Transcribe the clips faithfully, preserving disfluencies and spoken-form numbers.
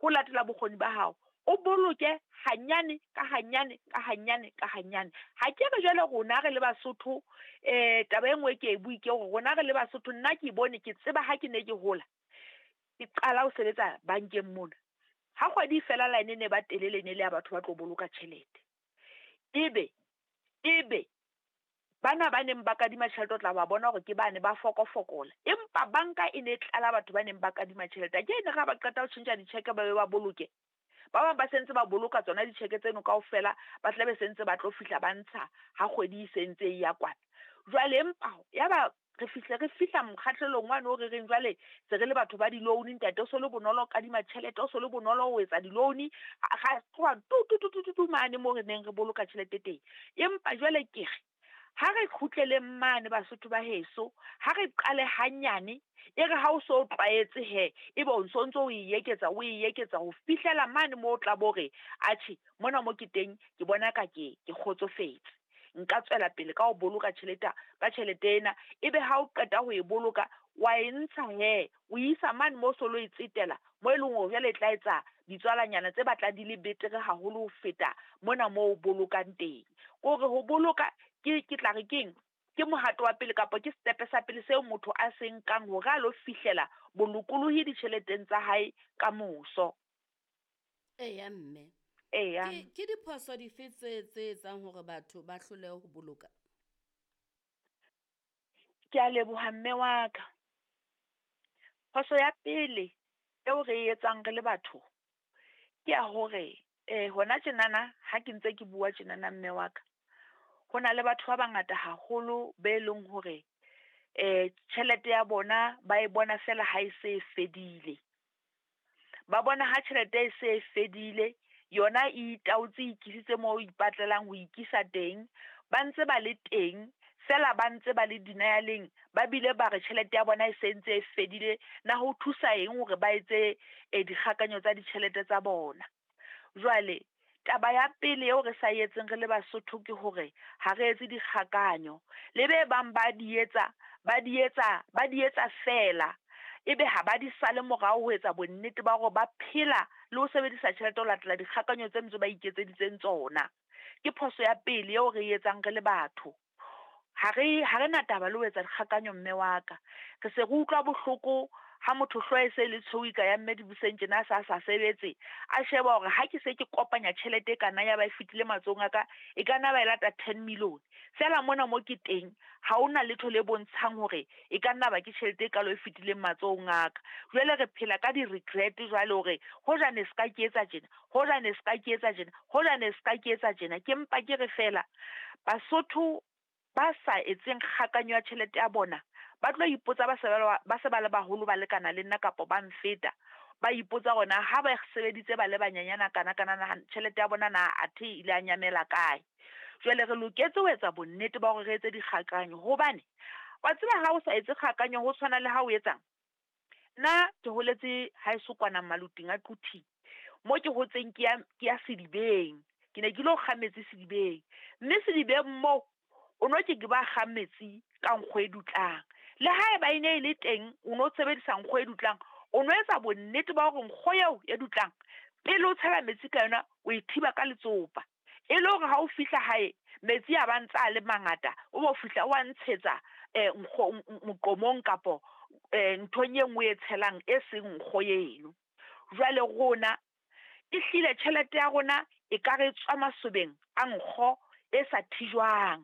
Ho latela bokgoni ba hao. O boloke hanyane ka hanyane ka hanyane ka hanyane. Ha ke re jwale rona re le Basotho, eh taba e nngwe ke e bue ke hore rona re le Basotho, nna ke bone ke tseba ha ke ne ke hola, ke qala ho sebetsa bankeng mona. Ha kgwedi e fela line e ne ba telele e ne le ya batho ba tlo boloka tjhelete. Ebe ebe bana ba neng ba kadima tjhelete o tla ba bona hore ke bane ba fokofokola, empa banka e ne e tlala batho ba neng ba kadima tjhelete. Ke ene ha ba qeta ho tjhentjha di-cheque ba be ba boloke. Ba bang ba sentse ba boloka tsona di-cheque tseno kaofela, ba tla be sentse ba tlo fihla ba ntsha ha kgwedi e sentse e ya kwana. Jwale empa ya ba re fihle re fihla mokgahlelong wane o re reng jwale se re le batho ba di-loan, ntate o so le bonolo ho kadima tjhelete, o so le bonolo ho etsa di-loan, ra tloha tu tu tu tu tu mane moo re neng re boloka tjhelete teng. Empa jwale ke re ha re kgutleleng mane Basotho ba heso, ha re qale hanyane, e re ha o so tlwaetse he, ebe o ntso ntso o e eketsa o e eketsa ho fihlela mane moo o tla bo re, atjhe mona mo ke teng ke bona ka ke ke kgotsofetse. Nka tswela pele ka ho boloka tjhelete ka tjhelete ena, ebe ha o qeta ho e boloka wa e ntsha he, o isa mane moo so lo e tsetela mo e leng hore jwale e tla etsa ditswalanyana tse batlang di le betere haholo ho feta mona moo o bolokang teng. Ke hore ho boloka ke ke tla re keng, ke mohato wa pele kapa ke setepe sa pele seo motho a se nkang hore a lo fihlela bolokolohi ditjheleteng tsa hae ka moso. Eya mme. Eya. Ke ke diphoso dife tse tse etsang hore batho ba hlolehe ho boloka? Ke a leboha mme wa ka. Phoso ya pele eo re e etsang re le batho ke ya hore eh hona tjenana ha ke ntse ke bua tjenana mme wa ka, ho na le batho ba bangata haholo be leng hore eh tjhelete ya bona ba e bona fela ha e se e fedile. Ba bona ha tjhelete e se e fedile, yona e itaotse e ikisitse moo e ipatlelang ho ikisa teng, ba ntse ba le teng fela ba ntse ba le denial-eng, ba bile ba re tjhelete ya bona e se ntse e fedile. Na ho thusa eng hore ba etse eh dikgakanyo tsa ditjhelete tsa bona? Jwale taba ya pele eo re sa etseng re le Basotho ke hore ha re etse dikgakanyo. Le be bang ba di etsa, ba di etsa, ba di etsa fela, ebe ha ba di sale morao ho etsa bonnete ba hore ba phela le ho sebedisa tjhelete ho latela dikgakanyo tse ntse ba iketseditseng tsona. Ke phoso ya pele eo re e etsang re le batho. Ha re ha re na taba le ho etsa dikgakanyo mme wa ka. Re se re utlwa bohloko ha motho hlooho e se le tshweu ka ya mme Dibuseng tjena a sa sa sebetse, a sheba hore ha ke se ke kopanya tjhelete e kana ya ba e fetile matsohong a ka, e ka nna ba e lata ten million. Feela mona mo ke teng ha hona letho le bontshang hore e ka nna ba ke tjhelete e kalo e fetileng matsohong a ka. Jwale re phela ka di-regret jwale hore hoja ne se ka ke etsa tjena, hoja ne se ka ke etsa tjena, hoja ne se ka ke etsa tjena. Ke mpa ke re fela Basotho ba sa etseng kgakanyo ya tjhelete ya bona, ba tlo ipotsa ba se ba le ba se ba le baholo ba lekana le nna kapa ba nfeta, ba ipotsa hore na ha ba sebeditse ba le banyenyana kana kana na tjhelete ya bona na athe ile ya nyamela kae. Jwale re loketse ho etsa bonnete ba hore re etse dikgakanyo, hobane wa tseba ha o sa etse kgakanyo ho tshwana le ha o etsang. Nna ke holetse haeso kwana Maluting a Quthing, mo ke hotseng ke ya ke ya sedibeng, ke ne ke lo kga metsi sedibeng, mme sedibeng moo o no ke ke ba kga metsi ka nkgo e dutlang. Le haeba e ne e le teng o no sebedisa nkgo e dutlang, o no etsa bonnete ba hore nkgo eo e dutlang pele o tshela metsi ka yona o e thiba ka letsopa, e le hore ha o fihla hae metsi a ba ntse a le mangata, o bo fihla o a ntshetsa eh nkgo moqomong kapo eh nthong e nngwe e tshelang e seng nkgo eno. Jwale rona ehlile tjhelete ya rona e ka re tswa masobeng a nkgo e sa thijwang,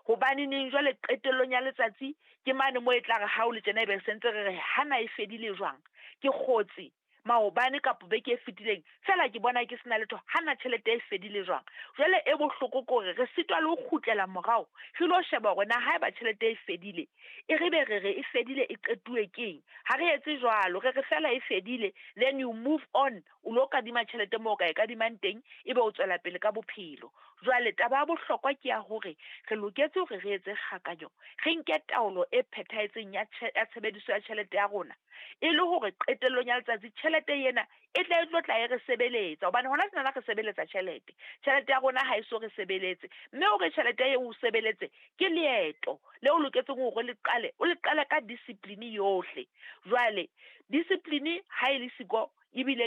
hobane neng jwale qetellong ya letsatsi ke mane moo e tla re ha o le tjena ebe sentse re re hana e fedile jwang, ke kgotse maobane kapa beke e fetileng fela ke bona ke sena letho, hana tjhelete e fedile jwang. Jwale e bohloko ke hore re sitwa le ho kgutlela morao re lo sheba hore na haeba tjhelete e fedile, e re be re re e fedile e qetuwe keng. Ha re etse jwalo, re re fela e fedile, then you move on, o lo kadima tjhelete moo o ka e kadimang teng, ebe o tswela pele ka bophelo. Jwale taba ya bohlokwa ke ya hore re loketse hore re etse kgakanyo, re nke taolo e phethahetseng ya ya tshebediso ya tjhelete ya rona, e le hore qetellong ya letsatsi tjhelete ena e tle e tlo tla e re sebeletsa, hobane hona tjenana re sebeletsa tjhelete. Tjhelete ya rona ha e so re sebeletse, mme hore tjhelete eo o sebeletse ke leeto le o loketseng hore le qale, o le qale ka discipline yohle. Jwale discipline ha e le siko ebile